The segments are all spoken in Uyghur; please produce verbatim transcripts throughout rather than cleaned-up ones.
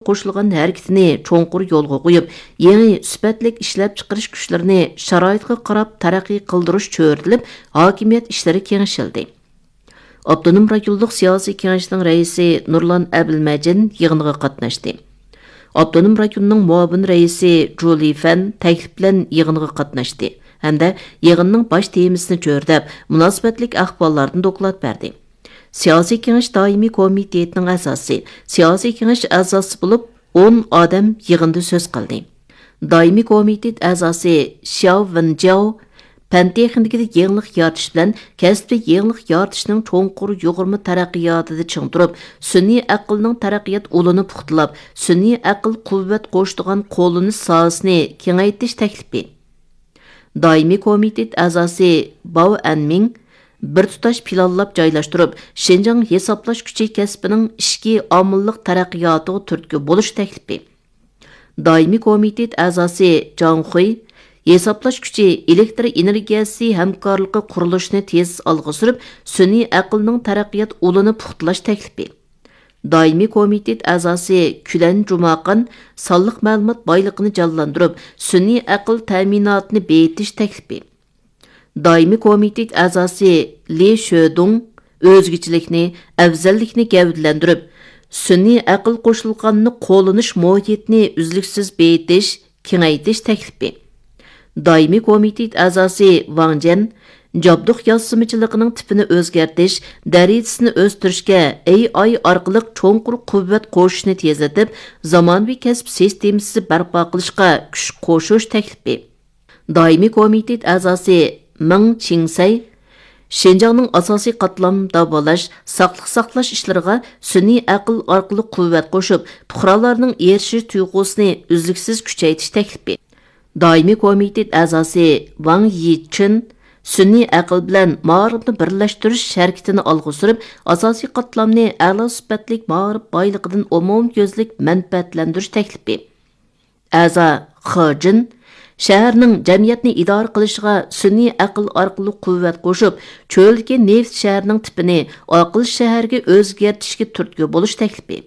قوشۇلغان ھەرىكىتىنى چوڭقۇر يولغا قويۇپ، يېڭى سۈپەتلىك ئىشلەپچىقىرىش كۈچلىرىنى شارائىتقا قاراپ تەرەققىي قىلدۇرۇش چۆرىدىلىپ، ھاكىمىيەت ئىشلىرى كېڭىشىلدى. ئاپتونوم رايونلۇق سىياسىي كېڭەشنىڭ رەئىسى نۇرلان ئەبىلمەجىن يىغىنغا قاتناشتى. ئاپتونوم رايوننىڭ مۇئاۋىن رەئىسى جۇلى فەن تەكلىپ بىلەن يىغىنغا قاتناشتى ھەمدە يىغىننىڭ باش تېمىسىنى چۆرىدەپ، مۇناسىۋەتلىك ئەھۋاللاردىن دوكلات بەردى. سىياسىي كېڭەش دائىمىي كومىتېتىنىڭ ئەزاسى، سىياسىي كېڭەش ئەزاسى بولۇپ، ئون ئادەم يىغىندا سۆز قىلدى. دائىمىي كومىتېت ئەزاسى شياۋ ۋېنجياۋ پەن تېخنىكىدا يېڭىلىق يارىتىش بىلەن كەسىپتە يېڭىلىق يارىتىشنىڭ چوڭقۇر يۇغۇرما تەرەققىياتىدا چىڭ تۇرۇپ، سۈنئىي ئەقىلنىڭ تەرەققىيات ئۇلىنى پۇختىلاپ، سۈنئىي ئەقىل قۇۋۋەت قوشىدىغان قوللىنىش ساھەسىنى كېڭەيتىش تەكلىپى. دائىمىي كومىتېت ئەزاسى باۋ ئەنمىڭ بىر تۇتاش پىلانلاپ جايلاشتۇرۇپ، شىنجاڭ ھېسابلاش كۈچى كەسپىنىڭ ئىچكى ئامىللىق تەرەققىياتىغا تۈرتكە بولۇش تەكلىپى. دائىمىي كومىتېت ئەزاسى جاڭ خۇي ھېسابلاش كۈچى ئېلېكتر ئېنېرگىيەسى ھەمكارلىقى قۇرۇلۇشىنى تېز ئالغا سۈرۈپ، سۈنئىي ئەقىلنىڭ تەرەققىيات ئۇلىنى پۇختىلاش تەكلىپى. دائىمىي كومىتېت ئەزاسى كۈلەن جۇماقان سانلىق مەلۇمات بايلىقىنى جانلاندۇرۇپ، سۈنئىي ئەقىل تەمىناتىنى بېيىتىش تەكلىپى. دائىمىي كومىتېت ئەزاسى لى شۆدۇڭ ئۆزگىچىلىكنى، ئەۋزەللىكنى گەۋدىلەندۈرۈپ، سۈنئىي ئەقىل قوشۇلغاننى قوللىنىش مۇھىتىنى ئۈزلۈكسىز بېيىتىش، كېڭەيتىش تەكلىپى. دائىمىي كومىتېت ئەزاسى ۋاڭ جيەن جابدۇق ياسىمىچىلىقىنىڭ تىپىنى ئۆزگەرتىش، دەرىجىسىنى ئۆستۈرۈشكە ئەي ئاي ئارقىلىق چوڭقۇر قۇۋۋەت قوشۇشنى تېزلىتىپ، زامانىۋى كەسىپ سىستېمىسى بەرپا قىلىشقا كۈچ قوشۇش تەكلىپى. دائىمىي كومىتېت ئەزاسى مېڭ چىڭسەي شىنجاڭنىڭ ئاساسىي قاتلام داۋالاش، ساقلىق ساقلاش ئىشلىرىغا سۈنئىي ئەقىل ئارقىلىق قۇۋۋەت قوشۇپ، پۇقرالارنىڭ ئېرىشىش تۇيغۇسىنى ئۈزلۈكسىز كۈچەيتىش تەكلىپى. دائىمىي كومىتېت ئەزاسى ۋاڭ يىچىن سۈنئىي ئەقىل بىلەن مائارىپنى بىرلەشتۈرۈش ھەرىكىتىنى ئالغا سۈرۈپ، ئاساسىي قاتلامنى ئەلا سۈپەتلىك مائارىپ بايلىقىدىن ئومۇميۈزلۈك مەنپەئەتلەندۈرۈش تەكلىپى. ئەزا خې جىن شەھەرنىڭ جەمئىيەتنى ئىدارە قىلىشىغا سۈنئىي ئەقىل ئارقىلىق قۇۋۋەت قوشۇپ، چۆلدىكى نېفىت شەھىرىنىڭ تىپىنى ئاقىل شەھەرگە ئۆزگەرتىشكە تۈرتكە بولۇش تەكلىپى.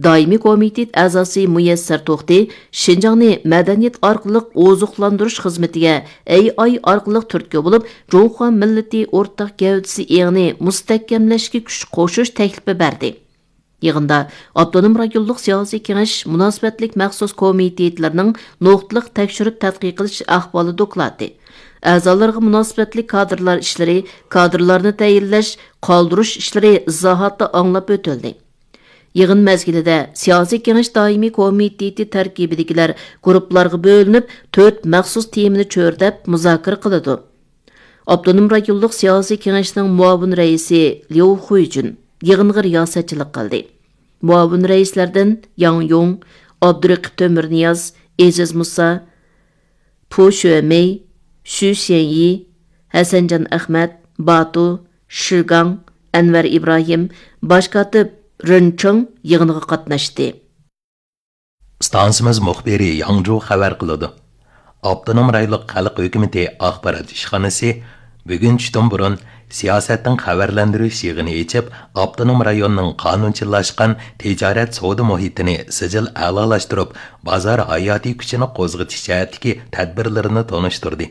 دائىمىي كومىتېت ئەزاسى مۇيەسسەر توختى شىنجاڭنى مەدەنىيەت ئارقىلىق ئوزۇقلاندۇرۇش خىزمىتىگە ئەي ئاي ئارقىلىق تۈرتكە بولۇپ، جۇڭخۇا مىللىتى ئورتاق گەۋدىسى ئېڭىنى مۇستەھكەملەشكە كۈچ قوشۇش تەكلىپى بەردى. يىغىندا ئاپتونوم رايونلۇق سىياسىي كېڭەش مۇناسىۋەتلىك مەخسۇس كومىتېتلىرىنىڭ نۇقتىلىق تەكشۈرۈپ تەتقىق قىلىش ئەھۋالى دوكلاتى، ئەزالارغا مۇناسىۋەتلىك كادىرلار ئىشلىرى، كادىرلارنى تەيىنلەش، قالدۇرۇش ئىشلىرى ئىزاھاتى ئاڭلاپ ئۆتۈلدى. يىغىن مەزگىلىدە سىياسىي كېڭەش دائىمىي كومىتېتى تەركىبىدىكىلەر گۇرۇپپىلارغا بۆلۈنۈپ، تۆت مەخسۇس تېمىنى چۆرىدەپ مۇزاكىرە قىلىدۇ. ئاپتونوم رايونلۇق سىياسىي كېڭەشنىڭ مۇئاۋىن رەئىسى ليۇ خۇيجۈن يىغىنغا رىياسەتچىلىك قىلدى. مۇئاۋىن رەئىسلەردىن ياڭ يۇڭ، ئابدۇرېقىپ تۆمۈرنىياز، ئېزىز مۇسا، پۇ شۆمېي، شۈ شيەنيى، ھەسەنجان ئەخمەت، باتۇ، شىگاڭ، ئەنۋەر ئىبراھىم، باش كاتىپ رېن چېڭ يىغىنغا قاتناشتى. ئىستانسىمىز مۇخبىرى ياڭجۇ خەۋەر قىلىدۇ. ئاپتونوم رايونلۇق خەلق ھۆكۈمىتى ئاخبارات ئىشخانىسى بۈگۈن چۈشتىن بۇرۇن سىياسەتنىڭ خەۋەرلەندۈرۈش يىغىنى ئېچىپ، ئاپتونوم رايوننىڭ قانۇنچىللاشقان تىجارەت سودا مۇھىتىنى سىجىل ئەلالاشتۇرۇپ، بازار ھاياتىي كۈچىنى قوزغىتىش جەھەتتىكى تەدبىرلىرىنى تونۇشتۇردى.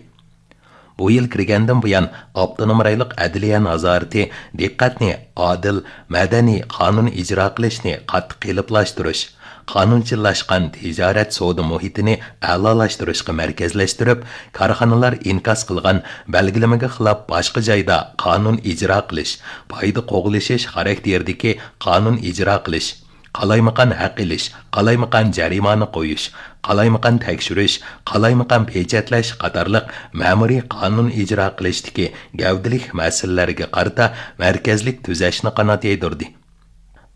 بۇ يىل كىرگەندىن بۇيان، ئاپتونوم رايونلۇق ئەدلىيە نازارىتى دىققەتنى ئادىل، مەدەنىي قانۇن ئىجرا قىلىشنى قاتتىق قېلىپلاشتۇرۇش، قانۇنچىللاشقان تىجارەت سودا مۇھىتىنى ئەلالاشتۇرۇشقا مەركەزلەشتۈرۈپ، كارخانىلار ئىنكاس قىلغان بەلگىلىمىگە خىلاپ باشقا جايدا قانۇن ئىجرا قىلىش، پايدا قوغلىشىش خاراكتېرىدىكى قانۇن ئىجرا قىلىش، قالايمىقان ھەق ئېلىش، قالايمىقان جەرىمانە قويۇش، قالايمىقان تەكشۈرۈش، قالايمىقان پېچەتلەش قاتارلىق مەمۇرىي قانۇن ئىجرا قىلىشتىكى گەۋدىلىك مەسىلىلەرگە قارىتا مەركەزلىك تۈزەشنى قانات يايدۇردى.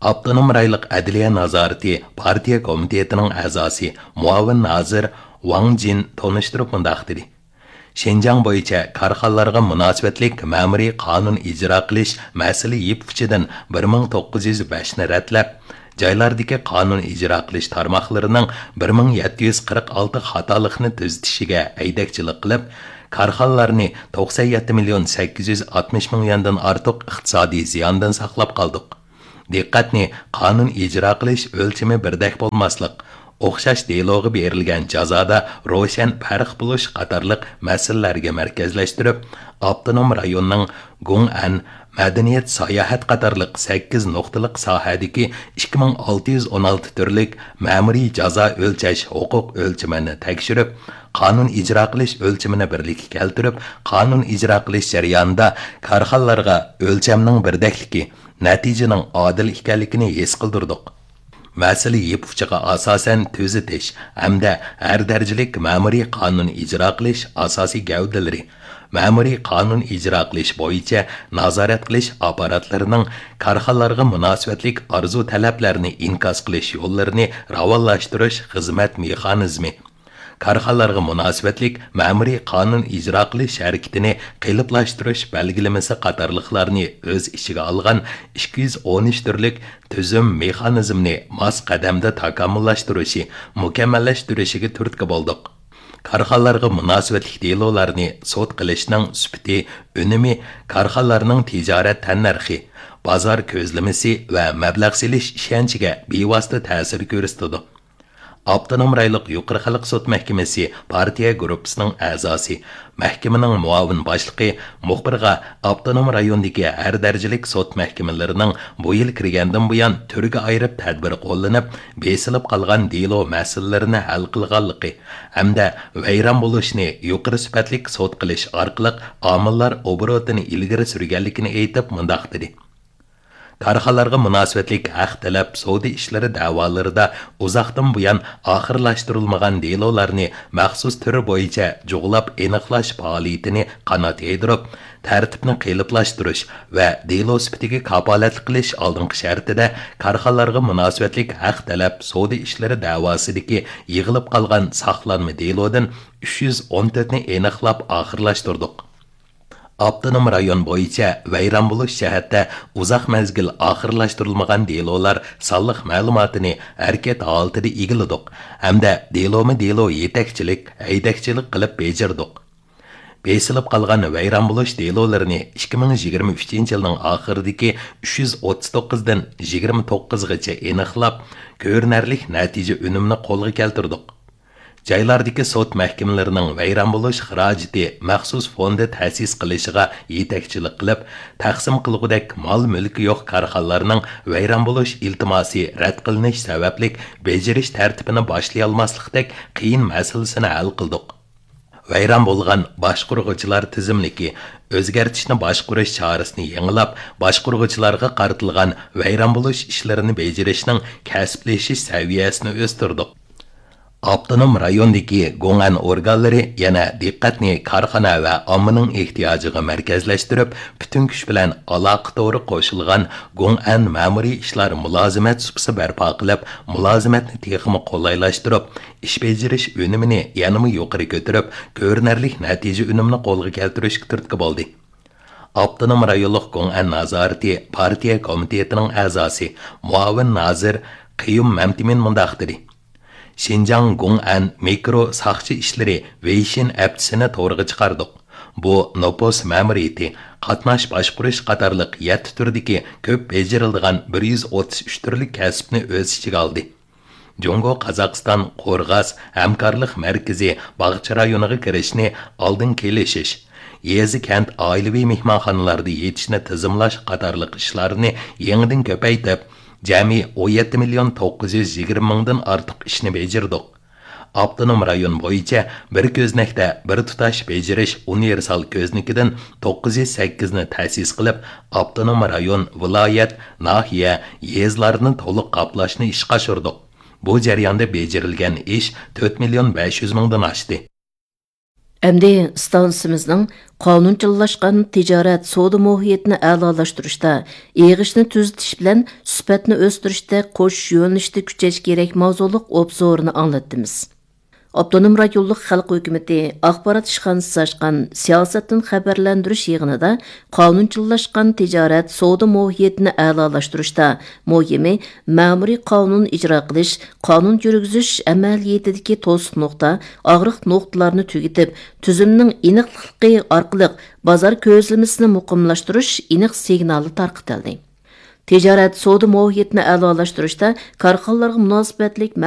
ئاپتونوم رايونلۇق ئەدلىيە نازارىتى پارتىيە كومىتېتىنىڭ ئەزاسى، مۇئاۋىن نازىر ۋاڭ جىن تونۇشتۇرۇپ مۇنداق دېدى: شىنجاڭ بويىچە كارخانىلارغا مۇناسىۋەتلىك مەمۇرىي قانۇن ئىجرا قىلىش مەسىلە يىپ ئۇچىدىن بىر مىڭ توققۇز يۈز بەشنى رەتلەپ، جايلاردىكى قانۇن ئىجرا قىلىش تارماقلىرىنىڭ بىر مىڭ يەتتە يۈز قىرىق ئالتە خاتالىقنى تۈزىتىشىگە ھەيدەكچىلىك قىلىپ، كارخانىلارنى توقسەن يەتتە مىليون سەككىز يۈز ئاتمىش مىڭ يۈەندىن ئارتۇق ئىقتىسادىي زىياندىن ساقلاپ قالدۇق. دىققەتنى قانۇن ئىجرا قىلىش ئۆلچىمى بىردەك بولماسلىق، ئوخشاش دېلوغا بېرىلگەن جازادا روشەن پەرق بولۇش قاتارلىق مەسىلىلەرگە مەركەزلەشتۈرۈپ، ئاپتونوم رايوننىڭ گۇڭئەن، مەدەنىيەت، ساياھەت قاتارلىق سەككىز نۇقتىلىق ساھەدىكى ئىككى مىڭ ئالتە يۈز ئون ئالتە تۈرلۈك مەمۇرىي جازا ئۆلچەش ھوقۇق ئۆلچىمىنى تەكشۈرۈپ، قانۇن ئىجرا قىلىش ئۆلچىمىنى بىرلىككە كەلتۈرۈپ، قانۇن ئىجرا قىلىش جەريانىدا كارخانىلارغا ئۆلچەمنىڭ بىردەكلىكى، نەتىجىنىڭ ئادىل ئىكەنلىكىنى ھېس قىلدۇردۇق. مەسىلە يىپ ئۇچىغا ئاساسەن تۈزىتىش ھەمدە ھەر دەرىجىلىك مەمۇرىي قانۇن ئىجرا قىلىش ئاساسىي گەۋدىلىرى، مەمۇرىي قانۇن ئىجرا قىلىش بويىچە نازارەت قىلىش ئاپپاراتلىرىنىڭ كارخانىلارغا مۇناسىۋەتلىك ئارزۇ تەلەپلەرنى ئىنكاس قىلىش يوللىرىنى راۋانلاشتۇرۇش خىزمەت مېخانىزمى، كارخانىلارغا مۇناسىۋەتلىك مەمۇرىي قانۇن ئىجرا قىلىش ھەرىكىتىنى قېلىپلاشتۇرۇش بەلگىلىمىسى قاتارلىقلارنى ئۆز ئىچىگە ئالغان ئىككى يۈز ئون ئۈچ تۈرلۈك تۈزۈم مېخانىزمنى ماس قەدەمدە تاكامۇللاشتۇرۇشى، مۇكەممەللەشتۈرۈشىگە تۈرتكە بولدۇق. كارخانىلارغا مۇناسىۋەتلىك دېلولارنى سوت قىلىشنىڭ سۈپىتى، ئۈنۈمى، كارخانىلارنىڭ تىجارەت تەننەرخى، بازار كۆزلىمىسى ۋە مەبلەغ سېلىش ئىشەنچىگە بىۋاسىتە تەسىر كۆرسىتىدۇ. ئاپتونوم رايونلۇق يۇقىرى خەلق سوت مەھكىمىسى پارتىيە گۇرۇپپىسىنىڭ ئەزاسى، مەھكىمىنىڭ مۇئاۋىن باشلىقى مۇخبىرغا ئاپتونوم رايوندىكى ھەر دەرىجىلىك سوت مەھكىمىلىرىنىڭ بۇ يىل كىرگەندىن بۇيان تۈرگە ئايرىپ تەدبىر قوللىنىپ، بېسىلىپ قالغان دېلو مەسىلىلىرىنى ھەل قىلغانلىقى ھەمدە ۋەيران بولۇشنى يۇقىرى سۈپەتلىك سوت قىلىش ئارقىلىق ئامىللار ئوبوروتىنى ئىلگىرى سۈرگەنلىكىنى ئېيتىپ، مۇنداق دېدى. كارخانىلارغا مۇناسىۋەتلىك ھەق تەلەپ سودا ئىشلىرى دەۋالىرىدا ئۇزاقتىن بۇيان ئاخىرلاشتۇرۇلمىغان دېلولارنى مەخسۇس تۈر بويىچە جۇغلاپ ئېنىقلاش پائالىيىتىنى قانات يايدۇرۇپ، تەرتىپنى قېلىپلاشتۇرۇش ۋە دېلو سۈپىتىگە كاپالەتلىك قىلىش ئالدىنقى شەرتىدە، كارخانىلارغا مۇناسىۋەتلىك ھەق تەلەپ سودا ئىشلىرى دەۋاسىدىكى يىغىلىپ قالغان ساقلانما دېلودىن ئۈچ يۈز ئون تۆتنى ئېنىقلاپ ئاخىرلاشتۇردۇق. ئاپتونوم رايون بويىچە ۋەيران بولۇش جەھەتتە ئۇزاق مەزگىل ئاخىرلاشتۇرۇلمىغان دېلولار سانلىق مەلۇماتىنى ھەرىكەت ھالىتىدە ئىگىلىدۇق ھەمدە دېلومۇ دېلو يېتەكچىلىك، ھەيدەكچىلىك قىلىپ بېجىردۇق. بېسىلىپ قالغان ۋەيران بولۇش دېلولىرىنى ئىككى مىڭ يىگىرمە ئۈچىنچى يىلنىڭ ئاخىرىدىكى ئۈچ يۈز ئوتتۇز توققۇزدىن يىگىرمە توققۇزغىچە ئېنىقلاپ، كۆرۈنەرلىك نەتىجە ئۈنۈمىنى قولغا كەلتۈردۇق. جايلاردىكى سوت مەھكىمىلىرىنىڭ ۋەيران بولۇش خىراجىتى مەخسۇس فوندى تەسىس قىلىشىغا يېتەكچىلىك قىلىپ، تەقسىم قىلغۇدەك مال-مۈلكى يوق كارخانىلارنىڭ ۋەيران بولۇش ئىلتىماسى رەت قىلىنىش سەۋەبلىك بېجىرىش تەرتىپىنى باشلىيالماسلىقتەك قىيىن مەسىلىسىنى ھەل قىلدۇق. ۋەيران بولغان باشقۇرغۇچىلار تىزىملىكى ئۆزگەرتىشنى باشقۇرۇش چارىسىنى يېڭىلاپ، باشقۇرغۇچىلارغا قارىتىلغان ۋەيران بولۇش ئىشلىرىنى بېجىرىشنىڭ كەسىپلىشىش سەۋىيەسىنى ئۆستۈردۇق. ئاپتونوم رايوندىكى گوڭئەن ئورگانلىرى يەنە دىققەتنى كارخانا ۋە ئاممىنىڭ ئېھتىياجىغا مەركەزلەشتۈرۈپ، پۈتۈن كۈچ بىلەن ئالاقە تورى قوشۇلغان گوڭئەن مەمۇرىي ئىشلار مۇلازىمەت سۇپىسى بەرپا قىلىپ، مۇلازىمەتنى تېخىمۇ قولايلاشتۇرۇپ، ئىش بېجىرىش ئۈنۈمىنى يەنىمۇ يۇقىرى كۆتۈرۈپ، كۆرۈنەرلىك نەتىجە ئۈنۈمىنى قولغا كەلتۈرۈشكە تۈرتكە بولدى. ئاپتونوم رايونلۇق گوڭئەن نازارىتى پارتىيە كومىتېتىنىڭ ئەزاسى، مۇئاۋىن نازىر قىيۇم مەمتىمىن مۇنداق دېدى: شىنجاڭ گوڭئەن مىكرو ساقچى ئىشلىرى ۋېيشىن ئەپچىسىنى تورغا چىقاردۇق. بۇ نوپۇس مەمۇرىيىتى، قاتناش باشقۇرۇش قاتارلىق يەتتە تۈردىكى كۆپ بېجىرىلىدىغان بىر يۈز ئوتتۇز ئۈچ تۈرلۈك كەسىپنى ئۆز ئىچىگە ئالدى. جۇڭگو، قازاقىستان، قورغاس ھەمكارلىق مەركىزى باغچە رايونىغا كىرىشنى ئالدىن كېلىشىش، يېزا، كەنت، ئائىلىۋى مېھمانخانىلاردا يېتىشنى تىزىملاش قاتارلىق ئىشلارنى يېڭىدىن كۆپەيتىپ، جەمئىي ئون يەتتە مىليون توققۇز يۈز يىگىرمە مىڭدىن ئارتۇق ئىشنى بېجىردۇق. ئاپتونوم رايون بويىچە بىر كۆزنەكتە بىر تۇتاش بېجىرىش ئۇنىۋېرسال كۆزنىكىدىن توققۇز يۈز سەككىزنى تەسىس قىلىپ، ئاپتونوم رايون، ۋىلايەت، ناھىيە، يېزىلارنى تولۇق قاپلاشنى ئىشقا ئاشۇردۇق. بۇ جەرياندا بېجىرىلگەن ئىش تۆت مىليون بەش يۈز مىڭدىن ئاشتى. ئەمدى ئىستانسىمىزنىڭ قانۇنچىللاشقان تىجارەت سودا مۇھىتىنى ئەلالاشتۇرۇشتا، ئېغىشنى تۈزىتىش بىلەن سۈپەتنى ئۆستۈرۈشتە قوشۇش يۆنىلىشىدە كۈچەش كېرەك ماۋزۇلۇق ئوبزورىنى ئاڭلاتتىمىز. ئاپتونوم رايونلۇق خەلق ھۆكۈمىتى ئاخبارات ئىشخانىسى ئاچقان سىياسەتتىن خەۋەرلەندۈرۈش يىغىنىدا قانۇنچىللاشقان تىجارەت سودا مۇھىتىنى ئەلالاشتۇرۇشتا مۇھىمى مەمۇرىي قانۇن ئىجرا قىلىش، قانۇن يۈرگۈزۈش ئەمەلىيىتىدىكى توسۇق نۇقتا، ئاغرىق نۇقتىلارنى تۈگىتىپ، تۈزۈمنىڭ ئېنىقلىقى ئارقىلىق بازار كۆزلىمىسىنى مۇقىملاشتۇرۇش ئېنىق سىگنالى تارقىتىلدى. تىجارەت، سودا مۇھىتىنى ئەلالاشتۇرۇشتا كارخانىلارغا مۇناسىۋەتلىك